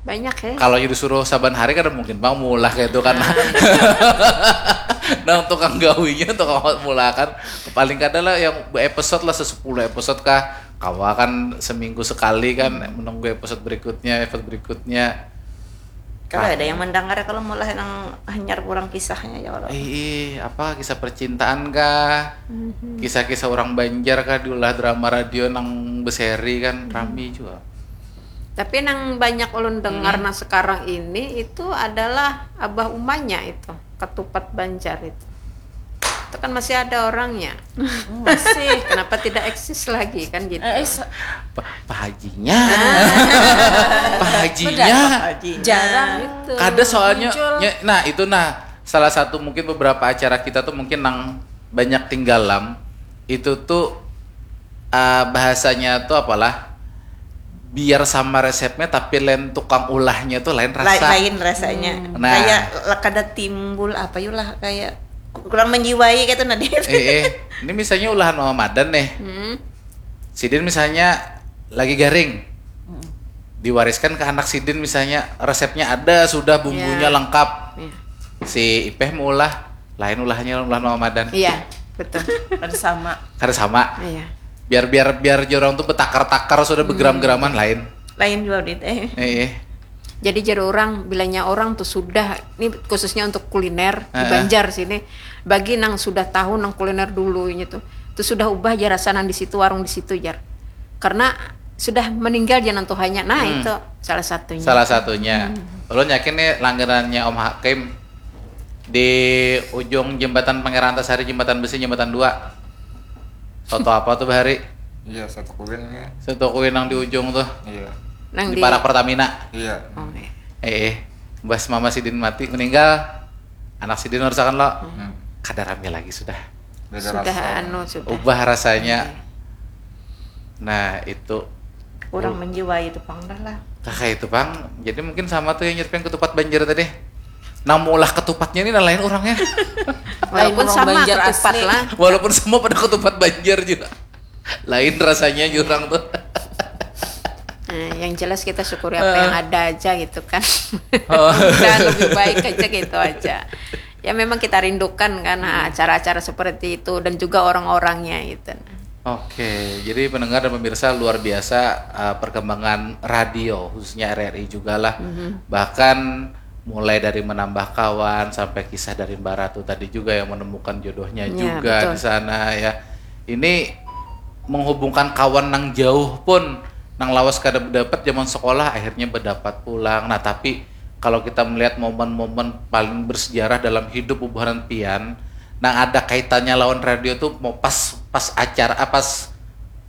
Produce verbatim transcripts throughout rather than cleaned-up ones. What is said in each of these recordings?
Banyak ya. Kalau disuruh saban hari kada mungkin pang maulah kayak itu kan. Nah, tukang gawinya tukang maulah kan. Paling kada lah yang episode lah, sesepuluh episode kah. Kawa kan seminggu sekali kan menunggu episode berikutnya, episode berikutnya. Kalau ada yang mendengar kalau maulah nang hanyar kurang kisahnya ya Allah. Eh, eh, apa kisah percintaan kah? Kisah-kisah orang Banjar kah diulah drama radio nang beseri kan rami juga. Tapi nang banyak ulun dengar nah sekarang ini itu adalah abah umanya itu, ketupat Banjar itu. Itu kan masih ada orangnya. Masih. Kenapa tidak eksis lagi kan gitu? Eh, eh, se- Pa- Pak Hajinya. Pak Hajinya. Jarang. Itu. Kada soalnya Muncul. nya- nah itu nah salah satu mungkin beberapa acara kita tuh mungkin nang banyak tinggalam itu tuh ah, bahasanya tuh apalah biar sama resepnya tapi lain tukang ulahnya tuh lain Lain, rasa. lain rasanya. Nah. Kayak le- kada timbul apa yuk lah kayak kurang menjiwai gitu nah dia. Eh, eh. Ini misalnya ulahan Mama Madan nih. Hmm. Sidin misalnya lagi garing. Diwariskan ke anak sidin misalnya resepnya ada sudah bumbunya Ya. Lengkap. Iya. Si Ipeh maulah lain ulahannya ulahan Mama Madan. Iya, betul. Kan sama. Kada sama. Iya. Biar biar biar jorang tuh betakar-takar sudah begeram-geraman lain. Lain juga dit eh. Eh, eh. Jadi jar orang bilanya orang tuh sudah ini khususnya untuk kuliner di Heeh. Banjar sini bagi nang sudah tahu nang kuliner dulu ini tuh tuh sudah ubah aja rasa nang di situ warung di situ jar karena sudah meninggal jangan tuhannya nah itu salah satunya. Salah satunya. Ulun yakin nih langganannya Om Hakim di ujung jembatan Pangeran Antasari, jembatan besi, jembatan dua. Soto apa tuh bahari? Iya, satu kuin ya. Soto kuwi nang di ujung tuh. Iya. Nang di di parak Pertamina. Iya. Oh, iya. Eh, eh. Mbah mama sidin mati meninggal. Anak sidin harus akan lo. Hmm. Kada rame lagi sudah. Beda Sudah rasa. Anu sudah. Ubah rasanya. Nah, itu Kurang menjiwai itu pang dah lah. kakak itu pang. Jadi mungkin sama tuh yang nyerpeng ketupat Banjar tadi. Nah, maulah ketupatnya ini nah lain orangnya. Walaupun Lain sama Banjar ketupat asli. Lah. Walaupun sama pada ketupat Banjar juga. Lain rasanya jurang tuh. Nah, yang jelas kita syukuri apa yang ada aja gitu kan. Udah lebih baik aja gitu aja. Ya memang kita rindukan kan ah, acara-acara seperti itu dan juga orang-orangnya gitu. Oke, jadi pendengar dan pemirsa luar biasa uh, perkembangan radio khususnya R R I juga lah. Bahkan mulai dari menambah kawan sampai kisah dari Mbak Ratu tadi juga yang menemukan jodohnya Ya, juga betul. Di sana ya. Ini menghubungkan kawan nang jauh pun nang lawas kada berdapat zaman sekolah akhirnya berdapat pulang. Nah, tapi kalau kita melihat momen-momen paling bersejarah dalam hidup bubuhan pian nang ada kaitannya lawan radio tuh mau pas pas acara ah, pas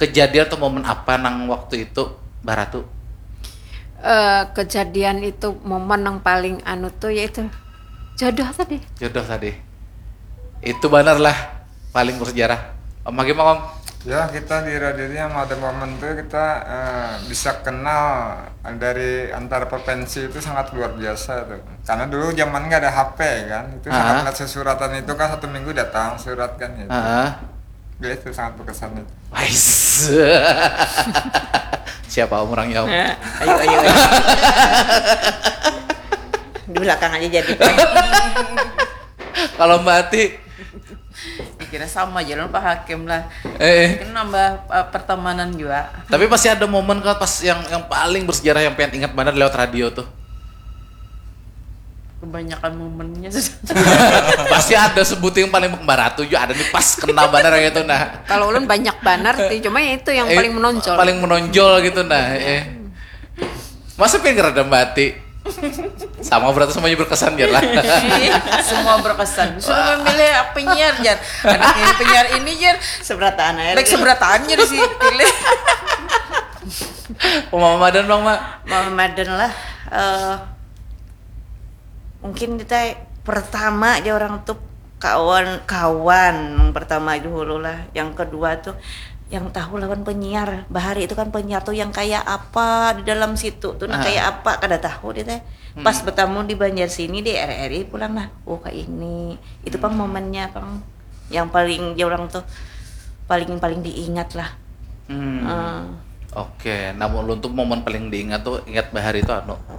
kejadian atau momen apa nang waktu itu Mbak Ratu? Eh, kejadian itu momen yang paling anu tuh yaitu jodoh tadi. Jodoh tadi. Itu benar lah paling bersejarah. Om Hakim Om. Ya, kita di radio ini yang ada momen tuh kita eh, bisa kenal dari antar provinsi itu sangat luar biasa tuh. Karena dulu zaman nggak ada H P kan, itu sangat Ah. melihat sesuratan itu kan satu minggu datang surat kan gitu. Heeh. Ya itu sangat berkesan itu. Wais. Siapa orangnya Om? Ayo ayo. Ayo. Di belakang aja jadi. Kalau Mbak Ati, Kira sama aja lah Pak Hakim lah. eh, Mungkin nambah uh, pertemanan juga. Tapi pasti ada momen kan pas yang yang paling bersejarah yang pengen ingat banget lewat radio tuh. Kebanyakan momennya. Pasti ada sebuting paling Mbak Ratu juga ada nih pas kena banget gitu nah. Kalau ulun banyak banget sih, cuma ya itu yang Eh, paling menonjol. Paling menonjol gitu nah. Eh. Masa pengen ngerada Mbak Ati? Sama berarti semuanya berkesan ya lah. Semua berkesan. Suruh memilih penyiar jar. Ada yang penyiar ini jar. Seberataan aja. Baik seberatannya di sini pilih. Mama Madan bang mak. Mama Madan lah. Eh, mungkin kita pertama aja orang tuh kawan-kawan yang pertama dahulu lah. Yang kedua tuh yang tahu lawan penyiar. Bahari itu kan penyiar tuh yang kayak apa di dalam situ tuh nah Ah. kayak apa kada tahu dia teh. Pas bertamu di Banjar sini di R R I pulang nah. Oh kayak ini. Itu pang momennya pang yang paling ya orang tuh paling paling diingat lah. Hmm. Eh, Oke, namun ulun tuh momen paling diingat tuh ingat bahari itu anu